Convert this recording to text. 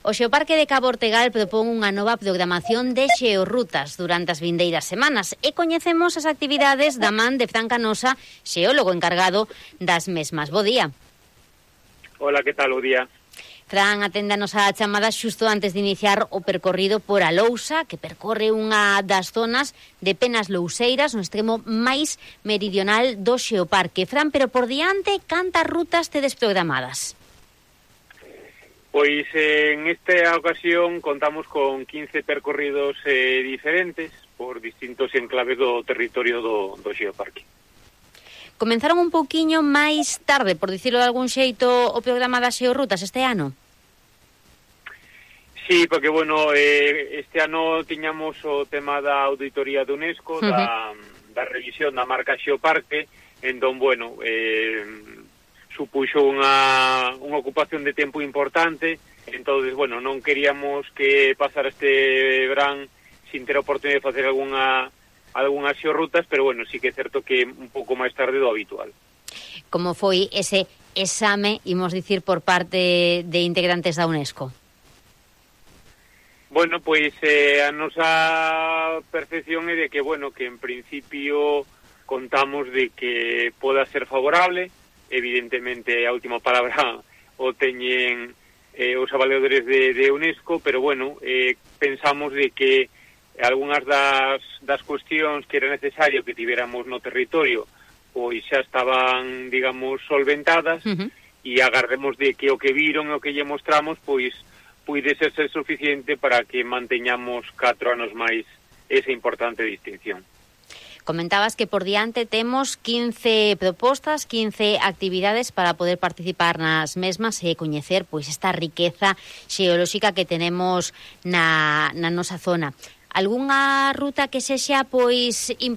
O Xeoparque de Cabo Ortegal propón unha nova programación de xeorrutas durante as vindeiras semanas e coñecemos as actividades da man de Fran Canosa, xeólogo encargado das mesmas. Bo día. Hola, que tal o día? Fran, aténdanos a chamada xusto antes de iniciar o percorrido por Alousa, que percorre unha das zonas de Penas Louseiras, no extremo máis meridional do Xeoparque. Fran, pero por diante, cantas rutas tedes programadas? Pois en esta ocasión contamos con 15 percorridos diferentes por distintos enclaves do territorio do Xeoparque. Comenzaron un pouquiño máis tarde, por dicirlo de algún xeito, o programa das xeorrutas este ano? Sí, porque, bueno, este ano tiñamos o tema da auditoría de UNESCO, da revisión da marca Xeoparque, entón, bueno, supuxo unha ocupación de tempo importante, entonces, bueno, non queríamos que pasara este verán sin ter a oportunidade de facer algunhas xeorrutas, pero, bueno, sí que é certo que un pouco máis tarde do habitual. Como foi ese exame, imos dicir, por parte de integrantes da UNESCO? Bueno, pois a nosa percepción é de que, bueno, que en principio contamos de que poda ser favorable. Evidentemente a última palabra o teñen os avaliadores de UNESCO, pero, bueno, pensamos de que algunhas das cuestións que era necesario que tivéramos no territorio pois xa estaban, digamos, solventadas, e agardemos de que o que viron e o que lle mostramos pois puidese ser suficiente para que manteñamos 4 anos máis esa importante distinción. Comentabas que por diante temos 15 propostas, 15 actividades para poder participar nas mesmas e coñecer pois esta riqueza xeolóxica que tenemos na nosa zona. Algúnha ruta que sexa pois